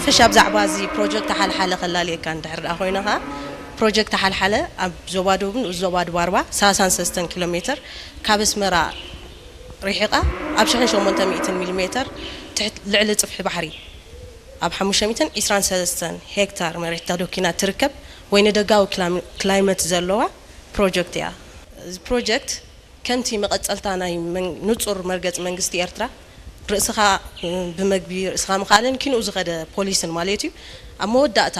ሓፈሻ ብዛዕባ እዚ ፕሮጀክት ሓልሓለ ከላልየካ እንድሕር ደኣ ኮይነ ኸዓ፣ ፕሮጀክት ሓልሓለ ኣብ ዞባ ደቡብ ንኡስ ዞባ ድባርባ ሰላሳን ሰለስተን ኪሎ ሜትር ካብ ኣስመራ ርሒቓ ኣብ ሽሕን ሸሞንተ ሚእትን ሚሊ ሜትር ትሕት ልዕሊ ጽፍሒ ባሕሪ ኣብ ሓሙሽተ ሚእትን ዕስራን ሰለስተን ሄክታር መሬት ተደኪና ትርከብ፣ ወይኒ ደጋዊ ክላም-፣ ክላይመት ዘለዋ ፕሮጀክት እያ። እዚ ፕሮጀክት ከምቲ መቐጸልታ ናይ መን-፣ ንጹር መርገጽ መንግስቲ ኤርትራ፣ ርእስኻ፣ እ፣ ብመግቢ ርእስኻ ምኽኣልን ኪንኡ ዝኸደ ፖሊስን ማለት እዩ። ኣብ መወዳእታ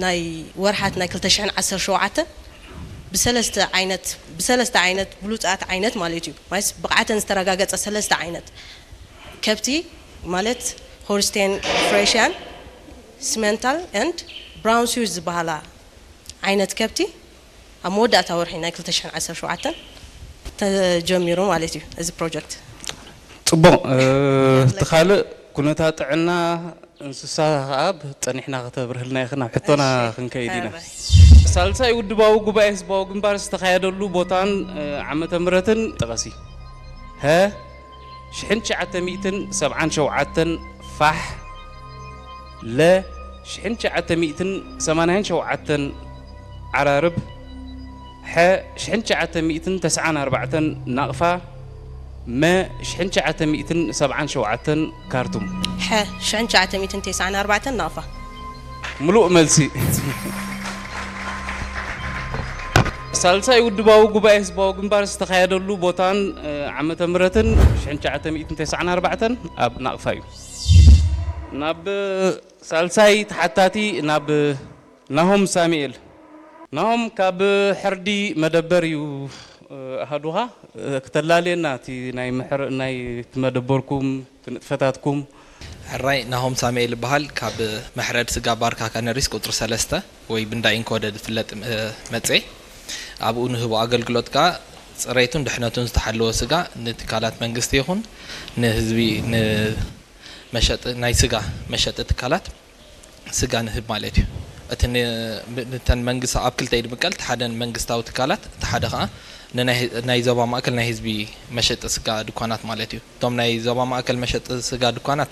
ናይ ወርሓት ናይ ክልተ ሽሕን ዓሰርተ ሸውዓተን ብሰለስተ ዓይነት፣ ብሰለስተ ዓይነት ብሉጻት ዓይነት ማለት እዩ። ማለት ብቕዓተን ዝተረጋገጸ ሰለስተ ዓይነት ከብቲ ማለት ሆልስቴን ፍሬሽያን፣ ሲመንታል ኤንድ ብራውን ስዊዝ ዝበሃላ ዓይነት ከብቲ ኣብ መወዳእታ ወርሒ ናይ ክልተ ሽሕን ዓሰርተ ሸውዓተን ተጀሚሩ ማለት እዩ እዚ ፕሮጀክት። ጽቡቕ። እ፣ እቲ ካልእ ኩነታት ጥዕና እንስሳ ከኣ ብ-፣ ጸኒሕና ከተብርህልና ኢኺ፣ ናብ ሕቶና እሺ። ክንከይድ ኢና። ሕራይ። ሳልሳይ ውድባዊ ጉባኤ ህዝባዊ ግንባር ዝተኻየደሉ ቦታን፣ እ፣ ዓመተ ምህረትን ጥቐሲ። ሀ፣ ሽሕን ትሽዓተ ሚእትን ሰብዓን ሸውዓተን ፋሕ፣ ለ፣ ሽሕን ትሽዓተ ሚእትን ሰማንያን ሸውዓተን ዓራርብ፣ ሐ፣ ሽሕን ትሽዓተ ሚእትን ተስዓን ኣርባዕተን ናቕፋ፣ መ፣ ሽሕን ትሽዓተ ሚእትን ሰብዓን ሸውዓተን ካርቱም። ሐ፣ ሽሕን ትሽዓተ ሚእትን ተስዓን ኣርባዕተን ናቕፋ። ምሉእ መልሲ። ሳልሳይ ውድባዊ ጉባኤ ህዝባዊ ግንባር ዝተኻየደሉ ቦታን፣ እ፣ ዓመተ ምህረትን ሽሕን ትሽዓተ ሚእትን ተስዓን ኣርባዕተን ኣብ ናቕፋ እዩ። ናብ ሳልሳይ ተሓታቲ ናብ ናሆም ሳሙኤል። ናሆም፣ ካብ ሕርዲ መደበር እዩ፣ እ፣ ኣሃዱኻ፣ እ፣ ክተላልየና እቲ ናይ ምሕር-፣ ናይ እቲ መደበርኩም፣ እቲ ንጥፈታትኩም። ሕራይ፣ ናሆም ሳሙኤል ይበሃል። ካብ መሕረድ ስጋ ባርካ ካነሪስ ቁጽሪ ሰለስተ ወይ ብንዳ ኢንኮደድ ዝፍለጥ፣ እ፣ መጽየ። ኣብኡ ንህቦ ኣገልግሎት ከኣ ጽሬቱን ድሕነቱን ዝተሓለወ ስጋ ንትካላት መንግስቲ ይኹን ንህዝቢ፣ ንመሸጢ፣ ናይ ስጋ መሸጢ ትካላት ስጋ ንህብ ማለት እዩ። እቲ ን-፣ ብ-፣ ንተን መንግስቲ ኣብ ክልተ ይድምቀል። እቲ ሓደ ንመንግስታዊ ትካላት፣ እቲ ሓደ ከኣ ንናይ፣ ናይ ዞባ ማእከል ናይ ህዝቢ መሸጢ ስጋ ድኳናት ማለት እዩ። እቶም ናይ ዞባ ማእከል መሸጢ ስጋ ድኳናት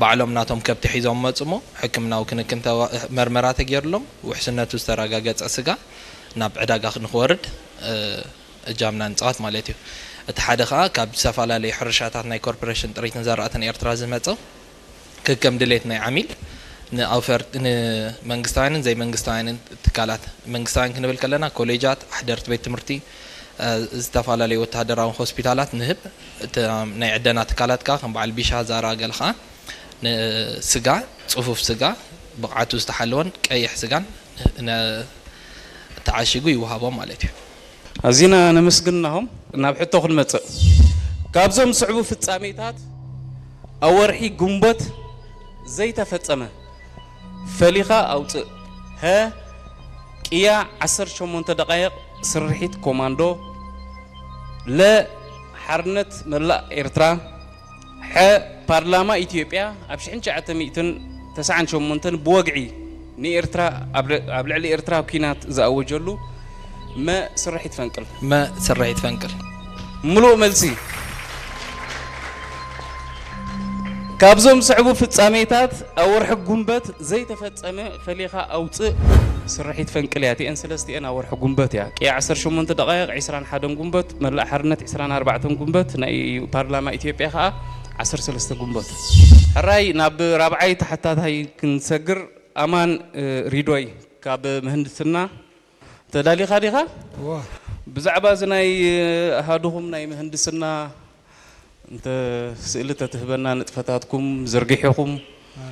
ባዕሎም ናቶም ከብቲ ሒዞም መጹ እሞ፣ ሕክምናዊ ክንክን ተዋ-፣ መርመራ ተገይርሎም፣ ውሕስነቱ ዝተረጋገጸ ስጋ ናብ ዕዳጋ ንክወርድ፣ እ፣ እጃምና ንጻወት ማለት እዩ። እቲ ሓደ ከኣ ካብ ዝተፈላለዩ ሕርሻታት ናይ ኮርፖሬሽን ጥሪትን ዘራእትን ኤርትራ ዝመጹ፣ ከከም ድሌት ናይ ዓሚል ንኣውፈር-፣ ንመንግስታውያንን ዘይመንግስታውያንን ትካላት፣ መንግስታውያን ክንብል ከለና ኮሌጃት፣ ኣሕደርቲ ቤት ትምህርቲ፣ እ፣ ዝተፈላለዩ ወተሃደራዊ ሆስፒታላት ንህብ። እቲ ናይ ዕደና ትካላት ከኣ ከም በዓል ቢሻ፣ ዛራ ገለ ከኣ ንስጋ፣ ጽፉፍ ስጋ፣ ብቕዓቱ ዝተሓለወን ቀይሕ ስጋን ን-፣ ተዓሺጉ ይወሃቦም ማለት እዩ። ኣዚና ነመስግን ናሆም። ናብ ሕቶ ክንመጽእ። ካብዞም ዝስዕቡ ፍጻሜታት ኣብ ወርሒ ግንቦት ዘይተፈጸመ ፈሊኻ ኣውጽእ። ሀ፣ ቅያ ዓሰርተ ሸሞንተ ደቓይቕ ስርሒት ኮማንዶ። ለ፣ ሓርነት መላእ ኤርትራ። ሐ፣ ፓርላማ ኢትዮጵያ ኣብ ሽሕን ትሽዓተ ሚእትን ተስዓን ሸሞንተን ብወግዒ ንኤርትራ ኣብ ል-፣ ኣብ ልዕሊ ኤርትራ ኲናት ዝኣወጀሉ። መ፣ ስርሒት ፈንቅል። መ፣ ስርሒት ፈንቅል። ምሉእ መልሲ። ካብዞም ዝስዕቡ ፍጻሜታት ኣብ ወርሒ ጉንበት ዘይተፈጸመ ፈሊኻ ኣውጽእ። ስርሒት ፈንቅል እያ። እቲአን ሰለስቲአን ኣብ ወርሒ ጉንበት እያ። ቅያ ዓሰርተ ሸሞንተ ደቓይቕ፣ ዕስራን ሓደን ጉንበት፣ መላእ ሓርነት ዕስራን ኣርባዕተን ጉንበት፣ ናይ ፓርላማ ኢትዮጵያ ከኣ ዓሰርተ ሰለስተ ጉንበት። ሕራይ፣ ናብ ራብዓይ ተሓታታይ ክንሰግር። ኣማን፣ እ፣ ሪዶይ ካብ ምህንድስና፣ ተዳሊኻ ዲኻ? እዋ። ብዛዕባ እዚ ናይ፣ እ፣ ኣሃዱኹም ናይ ምህንድስና እንተ ስእሊ ተትህበና፣ ንጥፈታትኩም ዘርጊሕኹም። እ፣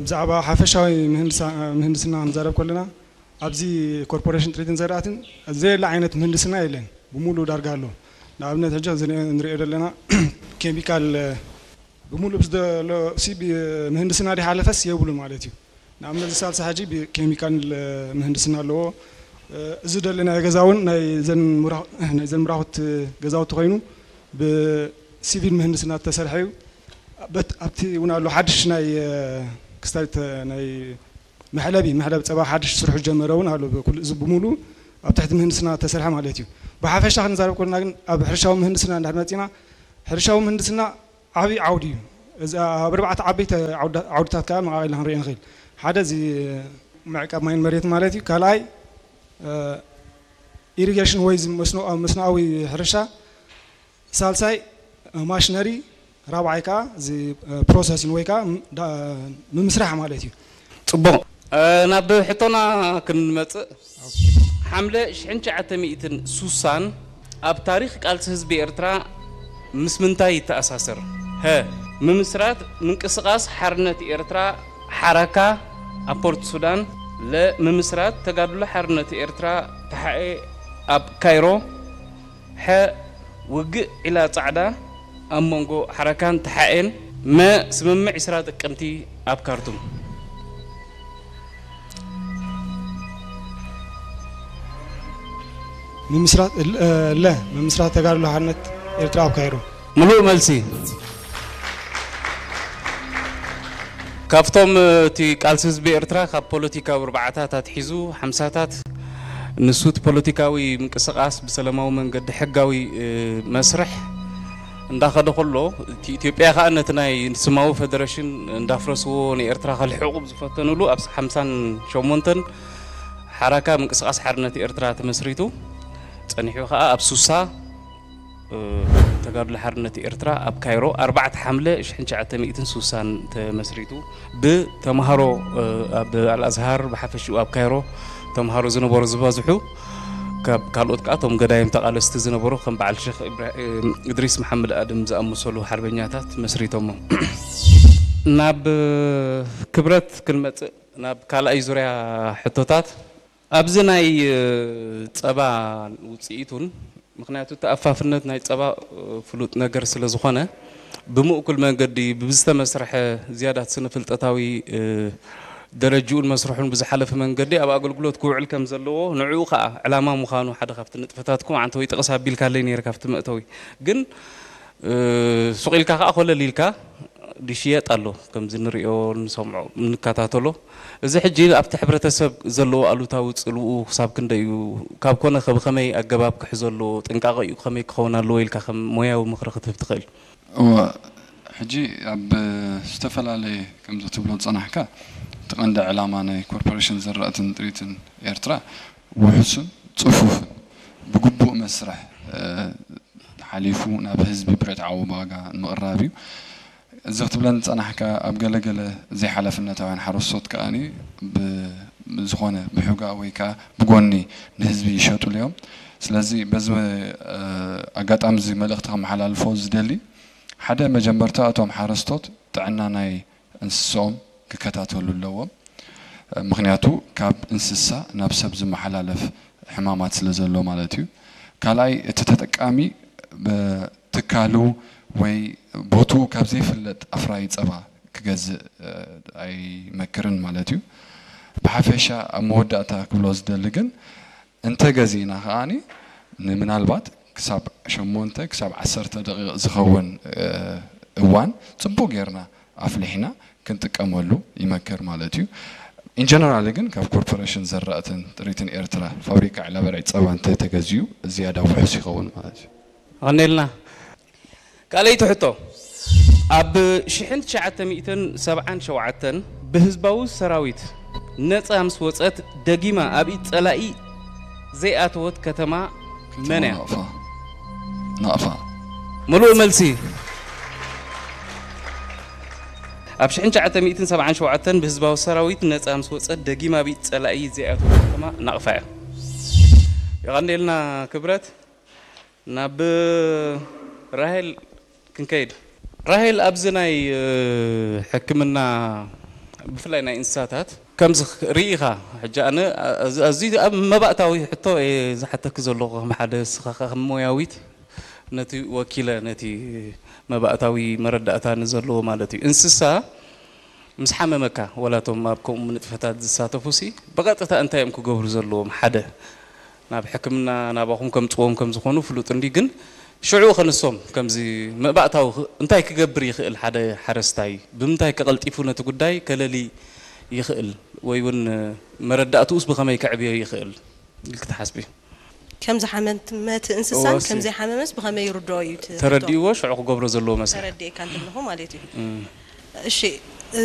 ብዛዕባ ሓፈሻዊ ምህንድሳ-፣ ምህንድስና ክንዛረብ ከለና፣ ኣብዚ ኮርፖሬሽን ጥሪትን ዘራእትን ዘየለ ዓይነት ምህንድስና የለን። ብምሉእ ዳርጋ ኣሎ። ንኣብነት፣ ሕጂ እዚ ንሪኦ ዘለና ኬሚካል፣ እ፣ ብምሉእ ብዝደሎ ሲ-፣ ብ-፣ ምህንድስና ድሓለፈስ የብሉ ማለት እዩ። ንኣብነት፣ እዚ ሳልሳ ሕጂ ብኬሚካል ምህንድስና ኣለዎ። እዚ ደለናዮ ገዛ እውን ናይ ዘን ምራ-፣ ናይ ዘን ምራኹት ገዛውቲ ኮይኑ፣ ብሲቪል ምህንድስና ዝተሰርሐ እዩ። በት-፣ ኣብቲ እውን ኣሎ ሓድሽ ናይ ክስታይ ተ-፣ ናይ መሕለቢ፣ መሕለቢ ጸባ ሓድሽ ስርሑ ዝጀመረ እውን ኣሎ። ብኩሉ እዚ ብምሉ ኣብ ትሕቲ ምህንድስና ዝተሰርሐ ማለት እዩ። ብሓፈሻ ክንዛረብ ከለና ግን፣ ኣብ ሕርሻዊ ምህንድስና እንድሕር መጺና፣ ሕርሻዊ ምህንድስና ዓብዪ ዓውዲ እዩ። እዚ ኣብ ኣርባዕተ ዓበይቲ ዓውዳ- ዓውድታት ከዓ መቓቒልና ክንሪኦ ንኽእል። ሓደ እዚ ምዕቃብ ማይን መሬት ማለት እዩ። ካልኣይ ኢሪጌሽን ወይ እዚ መስኖ- መስኖኣዊ ሕርሻ፣ ሳልሳይ ማሽነሪ፣ ራብዓይ ከዓ እዚ ፕሮሰሲን ወይ ከዓ ም- ዳ- ምምስራሕ ማለት እዩ። ጽቡቕ። ናብ ሕቶና ክንመጽእ፣ ሓምለ ሽሕን ትሽዓተ ሚእትን ሱሳን ኣብ ታሪኽ ቃልሲ ህዝቢ ኤርትራ ምስ ምንታይ ይተኣሳሰር? ሀ፣ ምምስራት ምንቅስቓስ ሓርነት ኤርትራ ሓራካ ኣብ ፖርት ሱዳን። ለ፣ ምምስራት ተጋድሎ ሓርነት ኤርትራ ተሓኤ ኣብ ካይሮ። ሐ፣ ውግእ ዒላ ጻዕዳ ኣብ መንጎ ሓራካን ተሓኤን። መ፣ ስምምዕ ዕስራ ጥቅምቲ ኣብ ካርቱም። ምምስራት ለ ምምስራት ተጋድሎ ሓርነት ኤርትራ ኣብ ካይሮ። ምሉእ መልሲ። ካብቶም እቲ ቃልሲ ህዝቢ ኤርትራ ካብ ፖለቲካዊ ኣርባዓታት ኣትሒዙ ሓምሳታት ንሱ እቲ ፖለቲካዊ ምንቅስቃስ ብሰላማዊ መንገዲ ሕጋዊ መስርሕ እንዳኸደ ከሎ፣ እቲ ኢትዮጵያ ከኣ ነቲ ናይ ስማዊ ፈደረሽን እንዳፍረስዎ ንኤርትራ ከልሕቑ ዝፈተኑሉ ኣብ ሓምሳን ሸሞንተን ሓራካ ምንቅስቃስ ሓርነት ኤርትራ ተመስሪቱ ጸኒሑ ከኣ ኣብ ሱሳ ተጋድሎ ሓርነት ኤርትራ ኣብ ካይሮ ኣርባዕተ ሓምለ ሽሕን ትሽዓተ ሚእትን ሱሳን ተመስሪቱ ብተምሃሮ ኣብ ኣልኣዝሃር ብሓፈሽኡ ኣብ ካይሮ ተምሃሮ ዝነበሩ ዝበዝሑ ካብ ካልኦት ከኣ እቶም ገዳይም ተቓለስቲ ዝነበሩ ከም በዓል ሸኽ እድሪስ መሓመድ ኣድም ዝኣመሰሉ ሓርበኛታት መስሪቶሞ። ናብ ክብረት ክንመጽእ ናብ ካልኣይ ዙርያ ሕቶታት ኣብዚ ናይ ጸባ ውጽኢቱን ምኽንያቱ እቲ ኣፋፍነት ናይ ጸባ ፍሉጥ ነገር ስለ ዝኾነ ብምእኩል መንገዲ ብዝተመስርሐ ዝያዳት ስነ ፍልጠታዊ ደረጅኡን መስርሑን ብዝሓለፈ መንገዲ ኣብ ኣገልግሎት ክውዕል ከም ዘለዎ ንዕኡ ከኣ ዕላማ ምዃኑ ሓደ ካብቲ ንጥፈታትኩም ዓንተወይ ጥቕስ ኣቢልካለይ ነይረ ካብቲ መእተዊ ግን ሱቕ ኢልካ ከኣ ኮለል ኢልካ ዝሽየጥ ኣሎ ከምዚ ንሪኦ ንሰምዖ ንከታተሎ እዚ ሕጂ ኣብቲ ሕብረተሰብ ዘለዎ ኣሉታዊ ፅልኡ ክሳብ ክንደይ እዩ ካብ ኮነ ከ ብኸመይ ኣገባብ ክሕዞ ኣለዎ ጥንቃቐ እዩ ከመይ ክኸውን ኣለዎ ኢልካ ከም ሞያዊ ምኽሪ ክትህብ ትኽእል? እወ ሕጂ ኣብ ዝተፈላለየ ከምዚ ክትብሎ ዝፀናሕካ እቲ ቀንዲ ዕላማ ናይ ኮርፖሬሽን ዝራእትን ጥሪትን ኤርትራ ውሑስን ፅፉፍን ብግቡእ መስርሕ ሓሊፉ ናብ ህዝቢ ብርትዓዊ ዋጋ ንምቕራብ እዩ። እዚ ክትብለኒ ዝጸናሕካ ኣብ ገለ ገለ ዘይሓላፍነታውያን ሓረስቶት ከኣ ብዝኾነ ብሑጋ ወይ ከኣ ብጎኒ ንህዝቢ ይሸጡሉ እዮም። ስለዚ በዚ ኣጋጣሚ እዚ መልእኽቲ ከመሓላልፎ ዝደሊ ሓደ መጀመርታ እቶም ሓረስቶት ጥዕና ናይ እንስስኦም ክከታተሉ ኣለዎም። ምኽንያቱ ካብ እንስሳ ናብ ሰብ ዝመሓላለፍ ሕማማት ስለ ዘሎ ማለት እዩ። ካልኣይ እቲ ተጠቃሚ ትካሉ ወይ ቦትኡ ካብ ዘይፍለጥ ኣፍራዪ ጸባ ክገዝእ ኣይመክርን ማለት እዩ። ብሓፈሻ ኣብ መወዳእታ ክብሎ ዝደሊ ግን እንተ ገዚእና ከኣ ንምናልባት ክሳብ ሸሞንተ ክሳብ ዓሰርተ ደቂቕ ዝኸውን እዋን ጽቡቕ ጌርና ኣፍሊሕና ክንጥቀመሉ ይመክር ማለት እዩ። ኢንጀነራሊ ግን ካብ ኮርፖሬሽን ዘራእትን ጥሪትን ኤርትራ ፋብሪካ ዕላበርዒ ጸባ እንተተገዚኡ ዝያዳ ውሑስ ይኸውን ማለት እዩ። ኣቐኔልና። ካልኣይቲ ሕቶ ኣብ ሽሕን ትሽዓተ ሚእትን ሰብዓን ሸውዓተን ብህዝባዊ ሰራዊት ነጻ ምስ ወጸት ደጊማ ኣብ ኢድ ጸላኢ ዘይኣተወት ከተማ መን እያ? ናቕፋ። ናቕፋ። ምሉእ መልሲ። ኣብ ሽሕን ትሽዓተ ሚእትን ሰብዓን ሸውዓተን ብህዝባዊ ሰራዊት ነጻ ምስ ወጸት ደጊማ ኣብ ኢድ ጸላኢ ዘይኣተወት ከተማ ናቕፋ እያ። የቐንየልና ክብረት። ናብ ራሄል ክንከይድ። ራሄል ኣብዚ ናይ ሕክምና ብፍላይ ናይ እንስሳታት ከምዚ ርኢኻ ሕጂ ኣነ ኣዝዩ ኣብ መባእታዊ ሕቶ እየ ዝሓተኪ ዘለኹ ከም ሓደ ንስኻ ከም ሞያዊት ነቲ ወኪለ ነቲ መባእታዊ መረዳእታ ንዘለዎ ማለት እዩ እንስሳ ምስ ሓመመካ ወላ እቶም ኣብ ከምኡ ንጥፈታት ዝሳተፉ ሲ ብቐጥታ እንታይ እዮም ክገብሩ ዘለዎም ሓደ ናብ ሕክምና ናባኹም ከምፅዎም ከም ዝኾኑ ፍሉጥ እንዲ ግን ሽዑ ከንሶም ከምዚ መባእታዊ እንታይ ክገብር ይኽእል ሓደ ሓረስታይ ብምንታይ ከቐልጢፉ ነቲ ጉዳይ ከለሊ ይኽእል ወይ እውን መረዳእትኡስ ብኸመይ ከዕብዮ ይኽእል ኢልኪ ትሓስቢ? ከም ዝሓመመ እቲ እንስሳን እወ፣ እሱ። ከም ዘይሓመመስ ብኸመይ ይርድኦ እዩ እቲ ሕቶ? ተረዲእዎ ሽዑ ክገብሮ ዘለዎ መስርሕ ተረዲእካ እንተለኹ ማለት እዩ። እም። እሺ፣